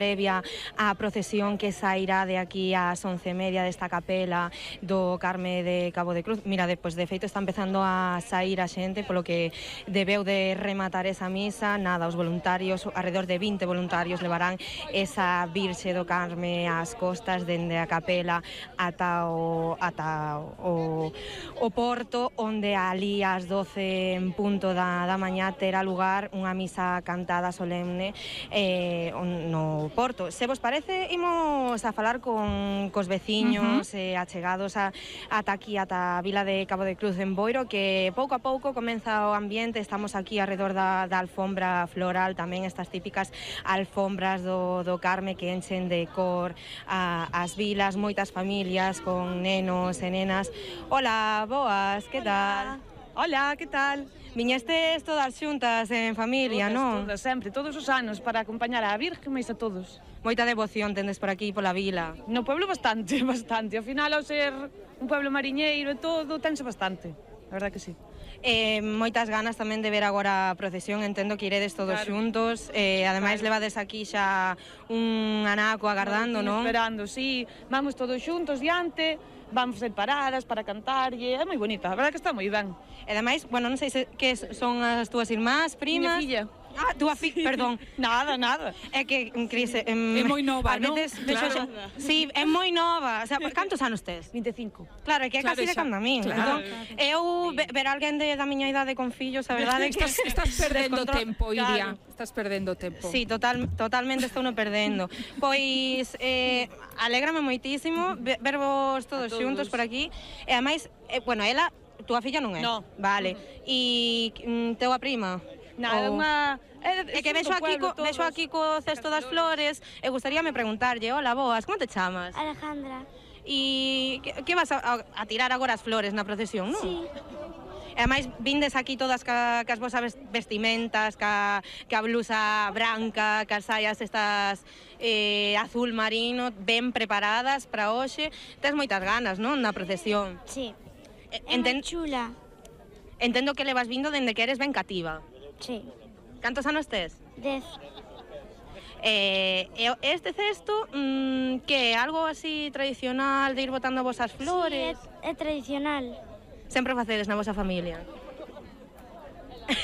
previa á procesión que sairá de aquí ás 11:30 desta capela do Carme de Cabo de Cruz. Mira, despois de feito está empezando a sair a xente, polo que debeu de rematar esa misa. Nada, os voluntarios, alrededor de 20 voluntarios, levarán esa Virxe do Carme ás costas dende a capela ata o porto, onde ali ás 12 en punto da mañá terá lugar unha misa cantada solemne no porto. Se vos parece, imos a falar cos veciños achegados ata aquí, ata a vila de Cabo de Cruz en Boiro, que pouco a pouco comeza o ambiente. Estamos aquí alrededor da alfombra floral, tamén estas típicas alfombras do Carme que enchen de cor as vilas, moitas familias con nenos e nenas. Hola, boas, que tal? Hola, que tal? Viñestes todas xuntas en familia, non? Todas, sempre, todos os anos, para acompañar á Virgen, máis a todos. Moita devoción tendes por aquí, pola vila. No pueblo bastante, bastante. Ao final, ao ser un pueblo mariñeiro e todo, tense bastante. A verdad que sí. Moitas ganas tamén de ver agora a procesión. Entendo que iredes todos xuntos. Ademais, levades aquí xa un anaco agardando, non? Esperando, sí. Vamos todos xuntos diante, vamos ser paradas para cantar, e é moi bonita. A verdad que está moi ben. E ademais, bueno, non sei que son as túas irmás, primas... Miña filla. Ah, túa filla, perdón. Nada. É que, Cris... É moi nova, non? Claro. Sí, é moi nova. O sea, cantos anos tes? 25. Claro, é que é casi de cando a min. Claro. Entón, eu ver alguén da miña idade con fillos, a verdade é que... Estás perdendo tempo, Iria. Claro. Estás perdendo tempo. Sí, totalmente estou no perdendo. Pois, alégrame moitísimo vervos todos xuntos por aquí. E ademais, bueno, ela, túa filla non é? No. Vale. E teu a prima? Nada, unha... É que vexo aquí co cesto das flores e gustaríame preguntarlle, hola, boas, como te chamas? Alejandra. E que vas a tirar agora as flores na procesión, non? Sí. E ademais vindes aquí todas cas vosas vestimentas, ca blusa branca, cas saias estas azul marino, ben preparadas para hoxe. Tes moitas ganas, non, na procesión? Sí. É moi chula. Entendo que levas vindo dende que eres ben cativa. Sí. Cantos anos tes? 10. Este cesto, que é algo así tradicional de ir botando vosas flores? Sí, é tradicional. Sempre o facedes na vosa familia?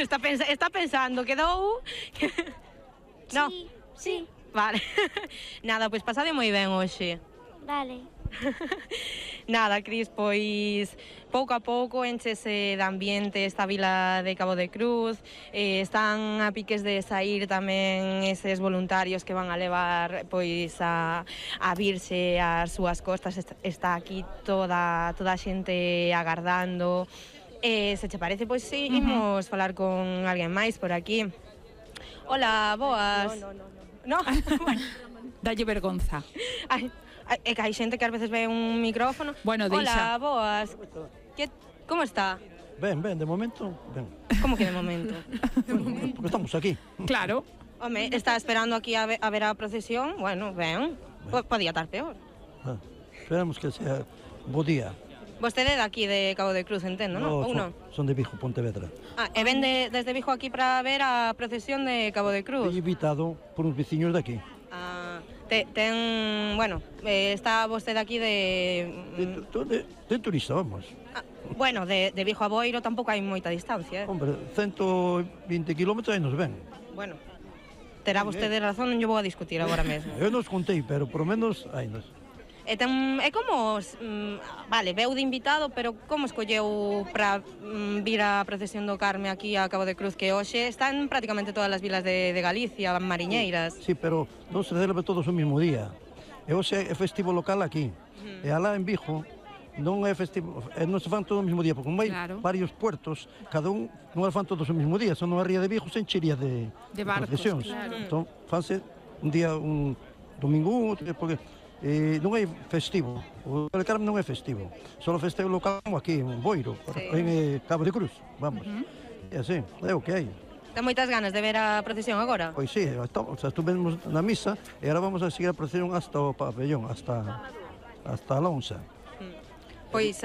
Está pensando, quedou... No? Sí. Vale. Nada, pois pasade moi ben hoxe. Vale. Nada, Cris, pois pouco a pouco enchese de ambiente esta vila de Cabo de Cruz. Están a piques de saír tamén eses voluntarios que van a levar pois a Virxe ás súas costas. Está aquí toda a xente agardando. Se che parece, pois sí, imos falar con alguén máis por aquí. Hola, boas. No? Dalle vergonza. Ai, é que hai xente que ás veces ve un micrófono. Bueno, Hola, deixa. boas. Como está? Ben, de momento, ben. Como que de momento? Bueno, porque estamos aquí. Claro. Home, está esperando aquí a ver a procesión. Bueno, ben. Podía estar peor. Esperamos que sea bo día. Vostede de aquí de Cabo de Cruz, entendo, non? Ou non? Son de Vigo, Pontevedra. E ven desde Vigo aquí para ver a procesión de Cabo de Cruz? Fui invitado por uns veciños de aquí. Bueno, está vostede aquí De turista, vamos. Bueno, de Vigo a Boiro tampouco hai moita distancia, Hombre, 120 kilómetros aí nos ven. Bueno, terá vostede razón, non lle vou a discutir agora mesmo. Eu nos contei, pero por lo menos aí nos. É como, vale, veu de invitado, pero como escolleu para vir a procesión do Carme aquí a Cabo de Cruz, que hoxe están prácticamente todas as vilas de Galicia, mariñeiras? Sí, pero non se celebra todos o mismo día. E hoxe é festivo local aquí. E alá en Vigo non é festivo, non se fan todo o mesmo día, porque como hai varios puertos, cada un non fan todos o mesmo día, son unha ría de Vigo se enchería de barcos, procesións. Claro. Entón, fanse un día, un domingo, porque non é festivo, o Carme non é festivo, só o festejo local aquí en Boiro, en Cabo de Cruz, vamos. E así, é o que hai. Ten moitas ganas de ver a procesión agora? Pois sí, estuvemos na misa e agora vamos a seguir a procesión hasta o pabellón, hasta a lonxa. Pois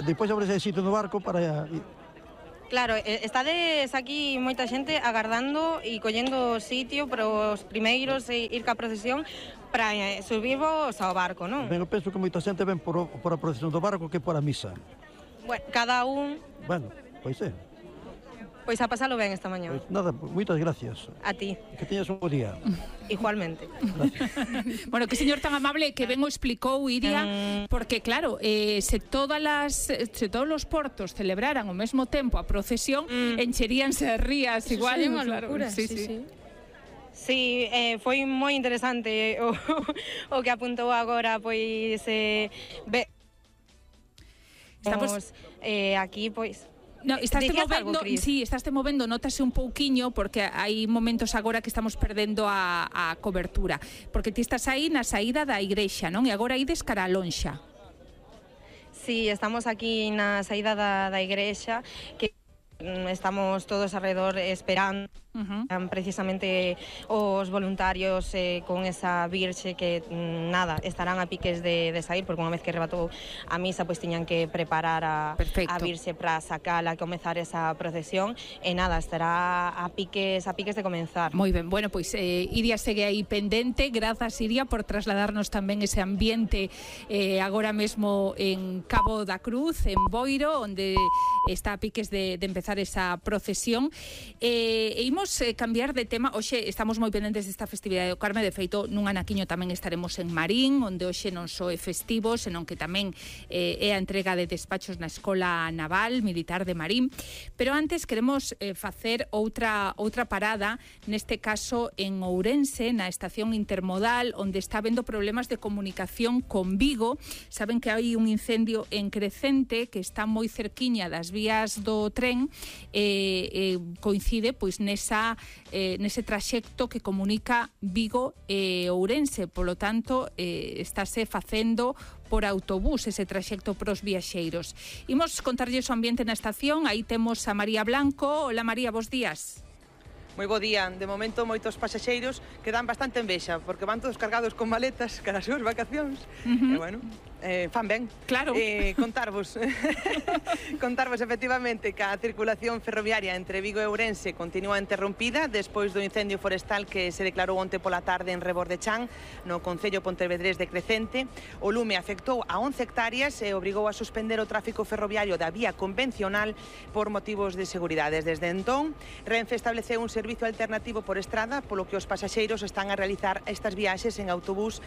Depois a ver se hai sitio no barco para Claro, estades aquí moita xente agardando e collendo sitio para os primeiros ir ca procesión para subirvos ao barco, non? Ben, eu penso que moita xente ven por a procesión do barco que por a misa. Bueno, cada un... Bueno, pois é. Pois a pasalo ben esta mañá. Pois nada, moitas gracias. A ti. Que teñas un bo día. Igualmente. Bueno, que señor tan amable que ben o explicou, Iria, porque claro, se todos os portos celebraran ao mesmo tempo a procesión, encheríanse as rías igual. Sería unha claro. locura, Sí. Sí, foi moi interesante o que apuntou agora, pois estamos aquí, pois No, estaste movendo, Cris? sí, estaste movendo, notase un pouquiño porque hai momentos agora que estamos perdendo a cobertura, porque ti estás aí na saída da igrexa, non? E agora ides cara a lonxa. Sí, estamos aquí na saída da igrexa, que estamos todos alrededor esperando precisamente os voluntarios con esa virxe que nada, estarán a piques de sair, porque unha vez que rebatou a misa pois tiñan que preparar a virxe para sacala, comezar esa procesión e nada, estará a piques de comenzar. Moi ben, bueno, pois Iria segue aí pendente. Grazas, Iria, por trasladarnos tamén ese ambiente agora mesmo en Cabo da Cruz, en Boiro, onde está a piques de empezar esa procesión. E imos cambiar de tema. Hoxe estamos moi pendentes desta festividade do Carme. De feito, nun anaquiño tamén estaremos en Marín, onde hoxe non só é festivo, senón que tamén é a entrega de despachos na Escola Naval Militar de Marín. Pero antes queremos facer outra parada, neste caso en Ourense, na estación intermodal, onde está habendo problemas de comunicación con Vigo. Saben que hai un incendio en Crecente que está moi cerquiña das vías do tren, coincide pois nese traxecto que comunica Vigo e Ourense, polo tanto estáse facendo por autobús ese traxecto pros viaxeiros. Imos contarlles o ambiente na estación. Aí temos a María Blanco. Hola María, bos días. Moi bo día. De momento moitos pasaxeiros que dan bastante envexa porque van todos cargados con maletas cara as súas vacacións. E bueno, fan ben. Claro. Contarvos efectivamente que a circulación ferroviaria entre Vigo e Ourense continúa interrompida despois do incendio forestal que se declarou onte pola tarde en Rebordechán, no concello pontevedrés de Crecente. O lume afectou a 11 hectáreas e obrigou a suspender o tráfico ferroviario da vía convencional por motivos de seguridade. Desde entón, Renfe estableceu un servizo alternativo por estrada, polo que os pasaxeiros están a realizar estas viaxes en autobús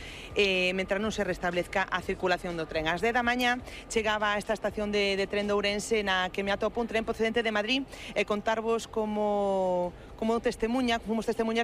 mentre non se restablezca a circulación do tren. Ás 10 da mañá chegaba a esta estación de tren de Ourense na que me atopo un tren procedente de Madrid e contarvos como fomos testemunhas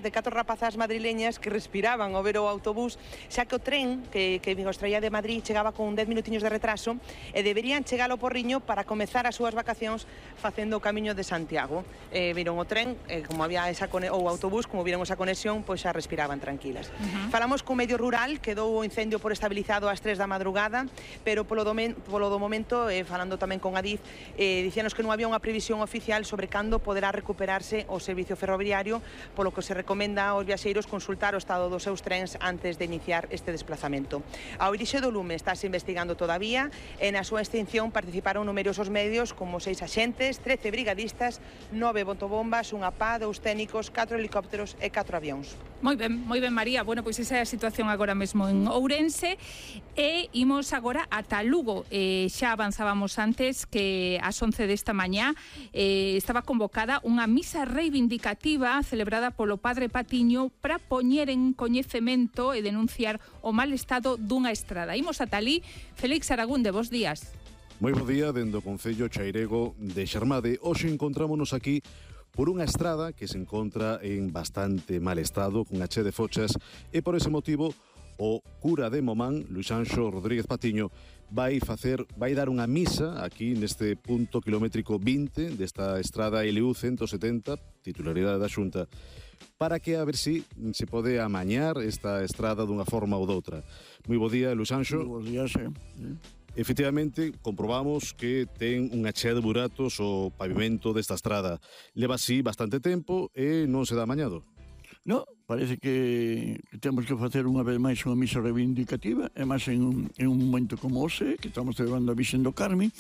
de 4 rapazas madrileñas que respiraban ao ver o autobús, xa que o tren que os traía de Madrid chegaba con 10 minutiños de retraso e deberían chegar ao Porriño para comezar as súas vacacións facendo o camiño de Santiago. Viron o tren, como había o autobús, como viron esa conexión, pois xa respiraban tranquilas. Falamos co medio rural, quedou o incendio por estabilizado ás 3 da madrugada, pero polo do momento, falando tamén con Adif, dicíanos que non había unha previsión oficial sobre cando poderá recuperarse o servicio ferroviario, polo que se recomenda aos viaxeiros consultar o estado dos seus trens antes de iniciar este desplazamento. A orixe do lume estáse investigando todavía e na súa extinción participaron numerosos medios como 6 axentes, 13 brigadistas, 9 botobombas, unha pá, 2 técnicos, 4 helicópteros e 4 avións. Moi ben, María. Bueno, pois esa é a situación agora mesmo en Ourense e imos agora ata Lugo. Xa avanzábamos antes que ás 11 desta mañá estaba convocada unha misa reivindicativa celebrada polo Padre Patiño para poñer en coñecemento e denunciar o mal estado dunha estrada. Imos ata alí. Félix Aragunde, bos días. Moi bo día, dende o Concello Chairego de Xermade. Hoxe encontrámonos aquí por unha estrada que se encontra en bastante mal estado, cunha che de fochas, e por ese motivo o cura de Momán, Luis Anxo Rodríguez Patiño, vai dar unha misa aquí neste punto kilométrico 20 desta estrada LU 170, titularidade da Xunta, para que a ver si se pode amañar esta estrada dunha forma ou doutra. Moi bo día, Luis Anxo. Moi bo día, sí. Efectivamente, comprobamos que ten unha chea de buratos o pavimento desta estrada. Leva así bastante tempo e non se dá amañado. No, parece que temos que facer unha vez máis unha misa reivindicativa, e máis en un momento como hoxe, que estamos celebrando a Virxen do Carme,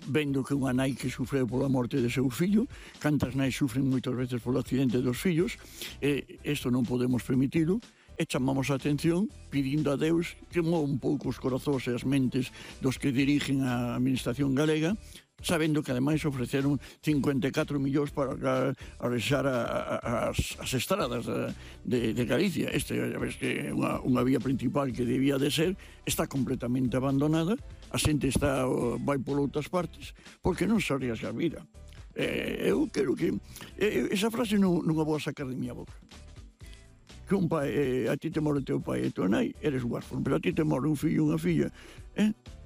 vendo que unha nai que sufreu pola morte de seu fillo, cantas nais sufren moitas veces polo accidente dos fillos, isto non podemos permitilo, e chamamos a atención pedindo a Deus que mova un pouco os corazóns e as mentes dos que dirigen a administración galega, sabendo que ademais ofreceron 54 millóns para arrexar as estradas de Galicia. Esta é unha vía principal que debía de ser, está completamente abandonada, a xente vai por outras partes, porque non se arriesga a vida. Eu quero que... Esa frase non a vou sacar de miña boca. Que un pai, a ti te morre teu pai e tua nai, eres huérfano, pero a ti te morre un fillo e unha filla,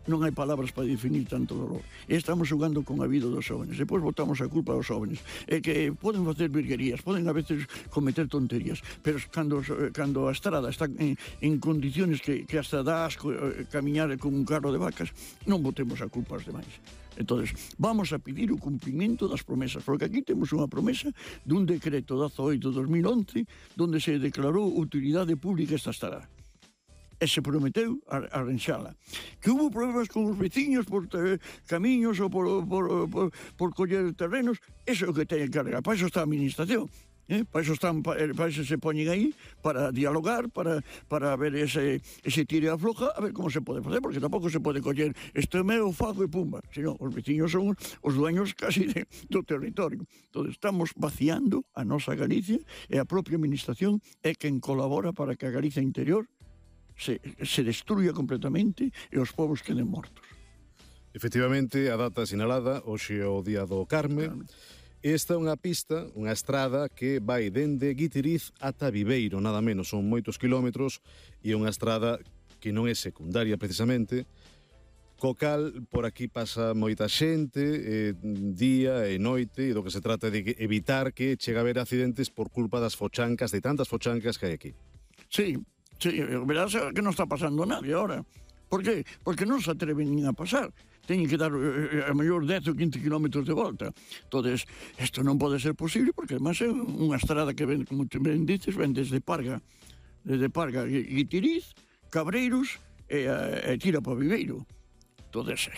non hai palabras para definir tanto dolor. E estamos xogando con a vida dos jóvenes. Depois botamos a culpa aos jóvenes. E que poden facer virguerías, poden a veces cometer tonterías, pero cando a estrada está en condiciones que hasta dá asco camiñar con un carro de vacas, non botemos a culpa aos demais. Entonces, vamos a pedir o cumprimento das promesas, porque aquí temos unha promesa dun decreto 18/2011 donde se declarou utilidade pública esta estrada. E se prometeu arranxala. Que hubo problemas con os veciños por camiños ou por coller terrenos, eso é o que teñen que arreglar. Para iso está a administración. Para iso se poñen aí, para dialogar, para ver ese tire a floja, a ver como se pode facer, porque tampouco se pode coller isto é meu, fago e pumba. Senón, os veciños son os dueños casi do territorio. Entón, estamos vaciando a nosa Galicia e a propia administración é quen colabora para que a Galicia interior se destruya completamente e os povos queden mortos. Efectivamente, a data sinalada, hoxe é o Día do Carme. Esta é unha pista, unha estrada que vai dende Guitiriz ata Viveiro, nada menos, son moitos kilómetros, e é unha estrada que non é secundaria precisamente, co cal por aquí pasa moita xente, día e noite, e do que se trata de evitar que chegue a haber accidentes por culpa das fochancas, de tantas fochancas que hai aquí. Sí, verás que non está pasando nadie ahora. Por que? Porque non se atreven nin a pasar. Teñen que dar a mellor 10 ou 15 kilómetros de volta. Entonces, isto non pode ser posible, porque además é unha estrada que ven, como ben dices, ven desde Parga, Guitiriz, Cabreiros e tira para Viveiro. Entonces,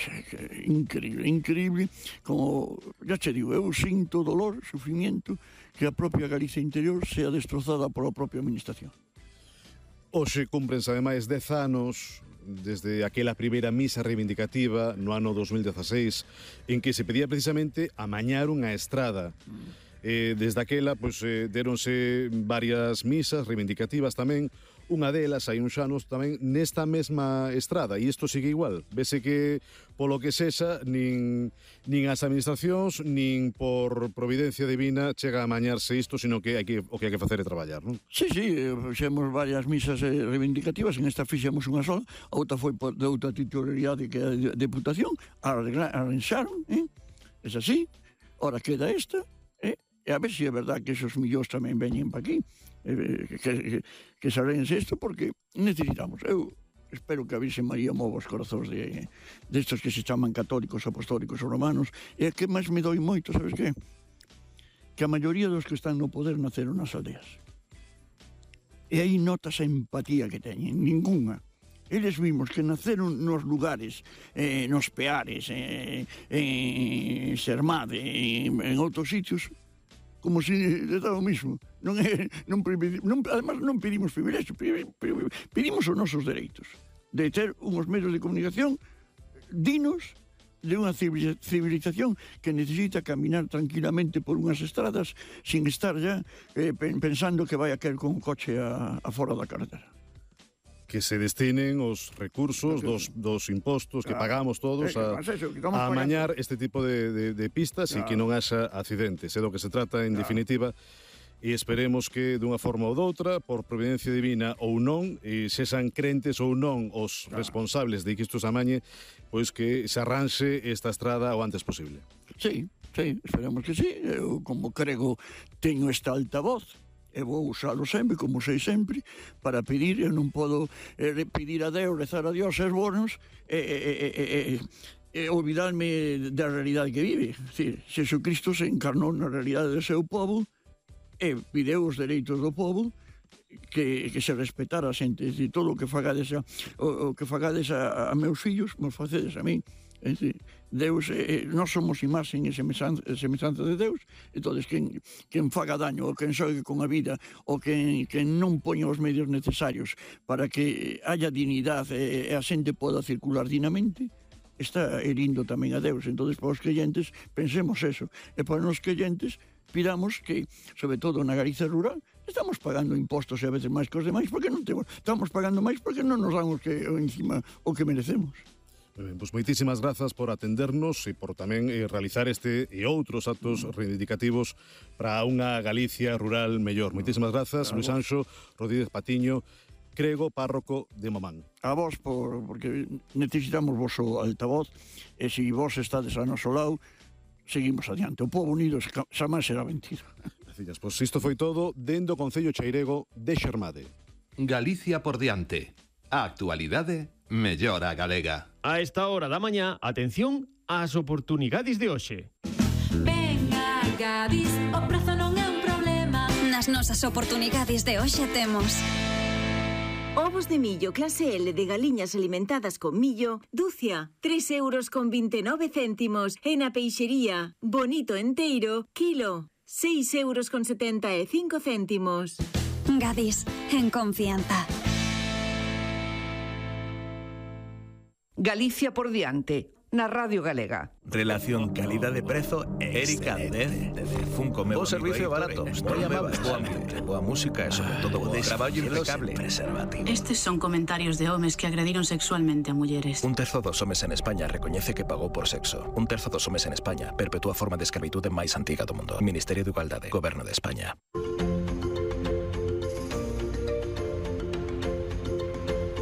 increíble, como, ya che digo, eu sinto dolor, sufrimiento, que a propia Galicia interior sea destrozada pola propia administración. Hoxe cúmprense ademais 10 anos desde aquela primeira misa reivindicativa no ano 2016 en que se pedía precisamente amañar unha estrada. Desde aquela, deronse varias misas reivindicativas tamén. Unha delas, hai uns anos tamén, nesta mesma estrada, e isto sigue igual. Vese que, polo que sexa, nin as administracións, nin por providencia divina chega a amañarse isto, sino que o que hai que facer é traballar, non? Sí, fixemos varias misas reivindicativas, en esta fixemos unha sola, a outra foi de outra titularidade que é a Deputación, arranxaron, é así, ora queda esta, e a ver se é verdad que esos millóns tamén veñen pa aquí, que sabense isto, porque necesitamos. Eu espero que a Virxen María mova os corazóns destos que se chaman católicos, apostólicos ou romanos, e que máis me doi moito, sabes que? Que a maioría dos que están no poder naceron nas aldeas. E aí notas a empatía que teñen, ninguna. Eles vimos que naceron nos lugares, nos Peares, en Sermade, en outros sitios, como se estaba o mismo. Además, non pedimos privilegio, pedimos os nosos dereitos de ter uns medios de comunicación dignos de unha civilización que necesita caminar tranquilamente por unhas estradas sin estar ya pensando que vai a caer con un coche a fora da carretera. Que se destinen os recursos dos impostos que pagamos todos a amañar este tipo de pistas e que non haxa accidentes. É do que se trata, en definitiva, e esperemos que dunha forma ou doutra, por providencia divina ou non, e sexan crentes ou non os responsables de que isto se amañe, pois que se arranxe esta estrada o antes posible. Sí, esperemos que sí. Eu, como crego, teño esta altavoz, e vou usalo sempre, como sei sempre, para pedir. Eu non podo pedir a Deus, rezar a Dios, ser bonos, e olvidarme da realidade que vive. Jesucristo se encarnou na realidade do seu povo e pideu os dereitos do povo que se respetara a xente. É dicir, todo o que fagades a meus fillos, mos facedes a min. É dicir, Deus, nós somos imaxen e semellanza de Deus, entón, quen faga daño, ou quen xogue con a vida, ou quen non poña os medios necesarios para que haya dignidade e a xente poda circular dignamente, está herindo tamén a Deus. Entón, para os creyentes, pensemos eso. E para os creyentes, pidamos que, sobre todo na Galicia rural, estamos pagando impostos e a veces máis que os demais, porque non temos, estamos pagando máis porque non nos dan encima o que merecemos. Pois moitísimas grazas por atendernos e por tamén realizar este e outros actos reivindicativos para unha Galicia rural mellor. Moitísimas grazas, Luis Anxo Rodríguez Patiño, crego, párroco de Momán. A vos, porque necesitamos vosso altavoz, e se vos estades a noso lado, seguimos adiante. O povo unido xamás será mentira. Gracias. Pois isto foi todo dende o Concello Chairego de Xermade. Galicia por diante. A actualidade mellor a galega. A esta hora da mañá, atención ás oportunidades de hoxe. Venga, Gadis, o prezo non é un problema. Nas nosas oportunidades de hoxe temos ovos de millo clase L de galiñas alimentadas con millo, dúcia, 3,29 €. E na peixería, bonito enteiro, kilo, 6,75 €. Gadis, en confianza. Galicia por diante, na Radio Galega. Relación calidade-prezo Erika Andez de Funko. O servicio barato, moi amable, boa ambiente, boa música e sobre todo boa traballo impecable. Estes son comentarios de homes que agrediron sexualmente a mulleres. 1/3 dos homes en España recoñece que pagou por sexo. 1/3 dos homes en España perpetúa a forma de escravitude máis antiga do mundo. Ministerio de Igualdade, Goberno de España.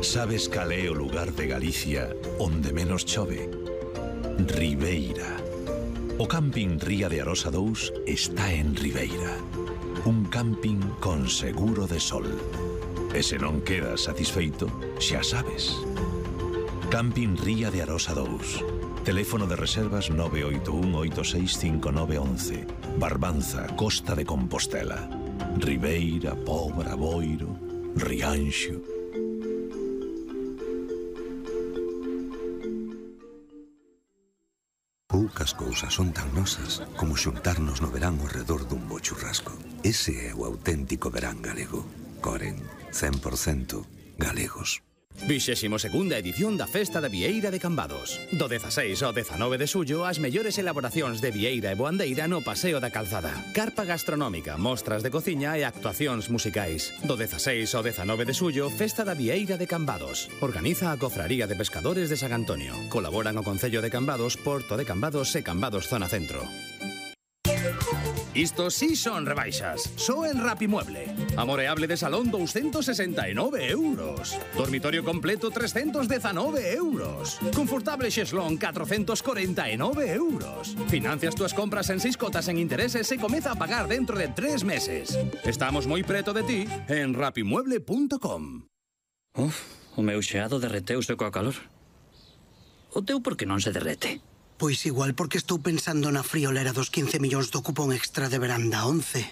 Sabes cal é o lugar de Galicia onde menos chove? Ribeira. O camping Ría de Arosa 2 está en Ribeira. Un camping con seguro de sol. E se non quedas satisfeito, xa sabes. Camping Ría de Arosa 2. Teléfono de reservas 981865911. Barbanza, Costa de Compostela. Ribeira, Pobra, Boiro, Rianxo. Poucas cousas son tan nosas como xuntarnos no verán ao redor dun bo churrasco. Ese é o auténtico verán galego. Coren, 100% galegos. 22ª edición da Festa da Vieira de Cambados. Do 16 ao 19 de xullo, as mellores elaboracións de vieira e boandeira no Paseo da Calzada. Carpa gastronómica, mostras de cociña e actuacións musicais. Do 16 ao 19 de xullo, Festa da Vieira de Cambados. Organiza a Cofraría de Pescadores de San Antonio. Colaboran o Concello de Cambados, Porto de Cambados e Cambados Zona Centro. Isto sí son rebaixas. Só en Rapimueble. Amoreable de salón 269 €. Dormitorio completo 319 €. Confortable xeslón 449 €. Financias túas compras en 6 cotas en intereses e comeza a pagar dentro de 3 meses. Estamos moi preto de ti en rapimueble.com. O meu xeado derreteuse coa calor. O teu por que non se derrete? Pois igual porque estou pensando na friolera dos 15 millóns do cupón extra de veranda 11.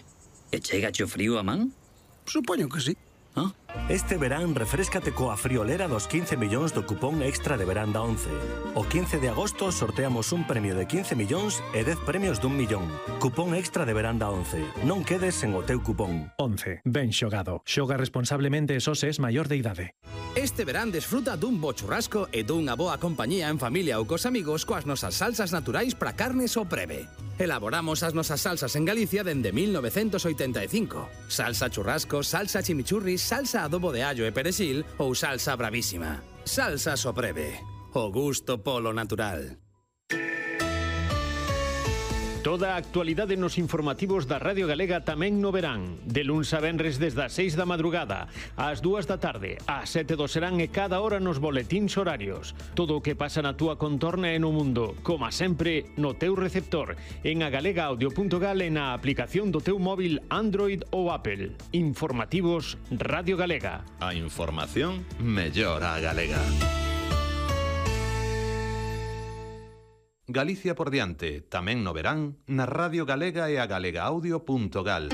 E chegache o frío a man? Supoño que sí. Este verán refréscate coa friolera dos 15 millóns do cupón extra de veranda 11. O 15 de agosto sorteamos un premio de 15 millóns e 10 premios d'1 millón. Cupón extra de veranda 11. Non quedes sen o teu cupón. 11. Ben xogado. Xoga responsablemente e só se es maior de idade. Este verán desfruta dun bo churrasco e dunha boa compañía en familia ou cos amigos coas nosas salsas naturais para carnes ou preve. Elaboramos as nosas salsas en Galicia dende 1985. Salsa churrasco, salsa chimichurri, salsa adobo de allo e perexil ou salsa bravísima. Salsa Sopreve. O gusto polo natural. Toda a actualidade nos informativos da Radio Galega tamén no verán. De luns a venres desde as 6 da madrugada, ás 2 da tarde, ás 7 do serán e cada hora nos boletíns horarios. Todo o que pasa na túa contorna e no mundo, como sempre, no teu receptor, en agalegaudio.gal e na aplicación do teu móvil Android ou Apple. Informativos Radio Galega. A información mellor a galega. Galicia por diante, tamén no verán, na Radio Galega e a galegaudio.gal.